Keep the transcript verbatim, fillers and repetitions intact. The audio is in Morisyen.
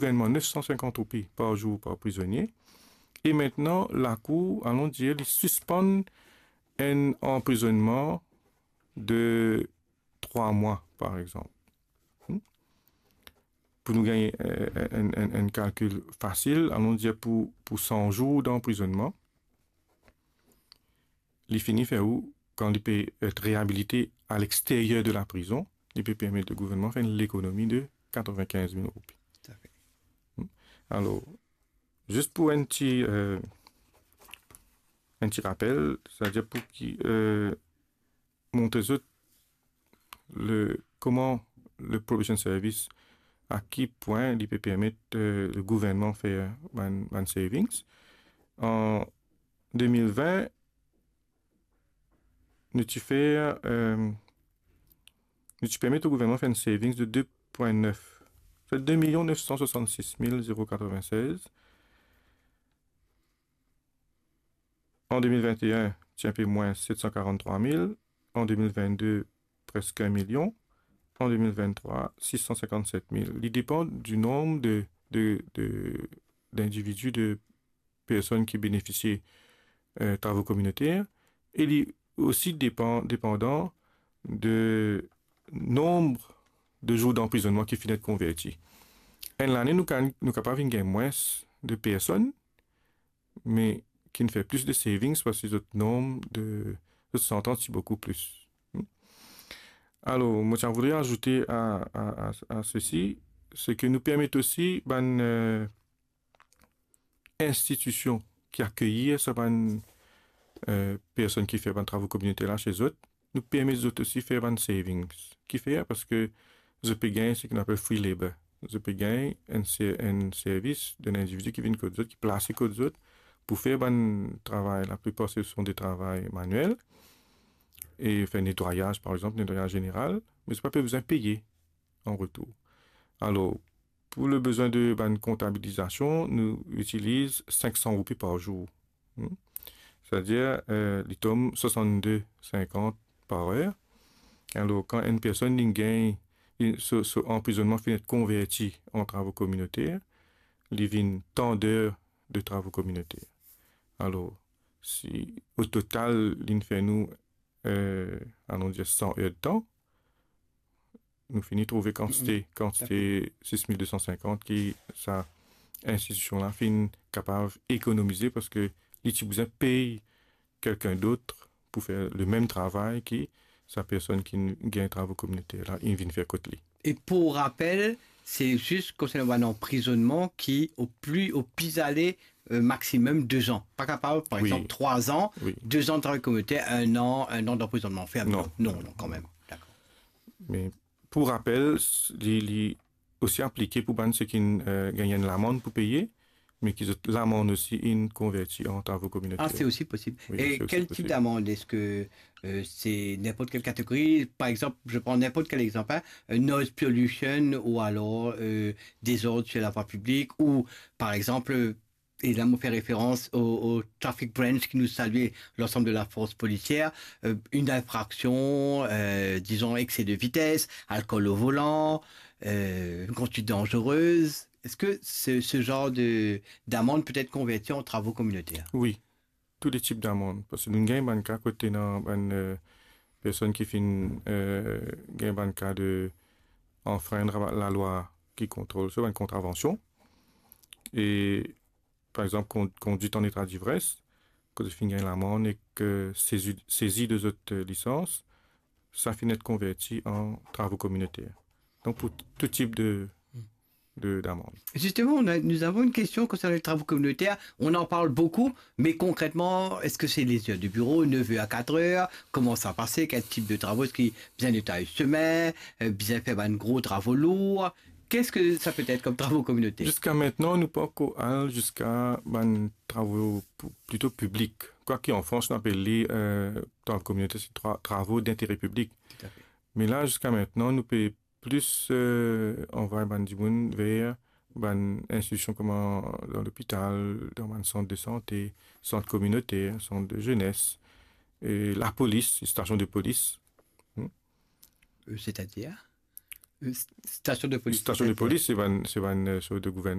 gouvernman nef san sinkant roupi par zour par prizonie. E aster, lakour, alon dir, li sispann enn anprizonnman de trwa mwa, par exanp. Hmm? Pou nou gagn, eh, enn, enn, enn kalkil fasil, alon dir pou, pou san zour danprizonnman, li fini fer ou, kan li pe et reabilite a lexteryer de laprizon, li pe permet le gouvernman fer enn lekonomi de katrevin-kinz mil roupi. Tafe. Hmm? Alor, zis pou enn ti, eh, enn ti rapel, setadir pou ki, eh, montre zot le, kouma le probation service, a ki pwin li pe permet, eh, le gouvernman fer bann, bann savings. An de mil vin, nou ti fer, eh, nou ti permet o gouvernman fer enn savings de de pwin nef. Se de milion nef san swasannsis mil zero katrevintsez. An de mil vin-e-enn, ti enpe mwin set san karant-trwa mil. An de mil vin-de, preske enn milion. An de mil vin-trwa, sis san sinkant-set mil. Li depann di nonb de, de, de, dindividi, de personn ki benefisie, eh, travo kominoter. E li osi depann, depandan de nonb de zour danprizonnman ki finn et konverti. Enn lane, nou ka-, nou kapav vinn gagn mwins de personn, me ki'nn fer plis de savings parski zot nonb de, zot santans ti boukou plis. Hmm? Alor, mo ti a voudre azoute a, a, a, a sesi, se ke nou permet osi bann, eh, institision ki akeyir sa bann, eh, personn ki fer bann travo kominoter la se zot, nou permet zot osi fer bann savings. Kifer? Parski zot pe gagn seki nou apel free labor. Zot pe gagn enn ser-, enn servis de enn individi ki vinn kot zot, ki plase kot zot pou fer bann travay, laplipar se sont des travay manuel, e fer netwayaz, par exanp, netwayaz zeneral, me zot pa pe bizin peye an retour. Alor, pou le bizin de bann kontabilizasion, nou itiliz sink san roupi par zour. Hmm? Setadir, eh, li tom swasann-de sinkant par er. Alor, kan enn personn li gagn, li, so, so anprizonnman finn et konverti an travo kominoter, li vinn tant d'heures de travo kominoter. Alor, si o total, li'nn fer nou, eh, alon dir san erdtan, nou fini trouve kantite, mm, kantite sis mil de san sinkant ki sa institision la finn kapav ekonomize parski li ti bizin pey kelkenn dot pou fer le mem travay ki sa personn ki gagn travo kominoter la, li vinn fer kot li. E pou rapel, se zis konsernan bann anprizonnman ki o pli, o pli ale, eh, maximum de zan. Pa kapav, par, wi, exanp, trwa zan, wi, de zan de travay kominoter, enn an, enn an d'anprizonnman ferm. Non. Non, non, kanmem. Dakor. Me pou rapel, s-, li, li osi aplike pou bann seki, eh, gagn enn lamann pou peye, me ki zot lamann osi inn konverti an travo kominoter. Ah, c'est aussi possible. Wi, c'est aussi possible. Et quel type d'amende? Est-ce que, euh, c'est n'importe quelle catégorie? Par exemple, je prends n'importe quel exemple, hein, euh, noise pollution ou alors, euh, désordre sur la voie publique ou, par exemple, euh, et là, on fait référence au, au traffic branch qui nous salue l'ensemble de la force policière, euh, une infraction, euh, disons, excès de vitesse, alcool au volant, euh, une conduite dangereuse. Est-ce que ce, ce genre de, d'amende peut être converti en travaux communautaires? Wi, tou le tip damann. Parski nou gagn bann ka kot ena bann, eh, personn ki finn, eh, gagn bann ka de anfreindre lalwa ki kontrol, so bann kontravansion. E, par exanp, kon-, kondwit an eta divres, kot zot finn gagn lamann ek, eh, sezi, sezi de zot, eh, lisans, sa finn et konverti an travo kominoter. Donk, pou t-, tou tip de, de, d'amand. Justement, on a, nous avons une question concernant les travaux communautaires. On en parle beaucoup, mais concrètement, est-ce que c'est les heures de bureau, neuf heures à quatre heures? Comment ça passe? Quel type de travaux? Est-ce qu'il y a besoin de taille chemin, euh, besoin de faire un gros travaux lourds? Qu'est-ce que ça peut être comme travaux communautaires? Ziska aster, nou pa ankor al ziska bann travo pou, plito piblik. Kwaki an Frans, nou apel li, eh, travo kominoter, se tra-, travo dintere piblik. Tout à fait. Me la, ziska aster, nou pe plis, eh, anvway bann dimoun ver bann institision kouma dan lopital, dan bann sant de sante, sant kominoter, sant de zenes, e lapolis, stasion de polis. Hmm. Euh, c'est-à-dire? Euh, st-, station de police, peut-être. Station de police, c'est pas une, c'est pas une, euh, sorte de gouvernement.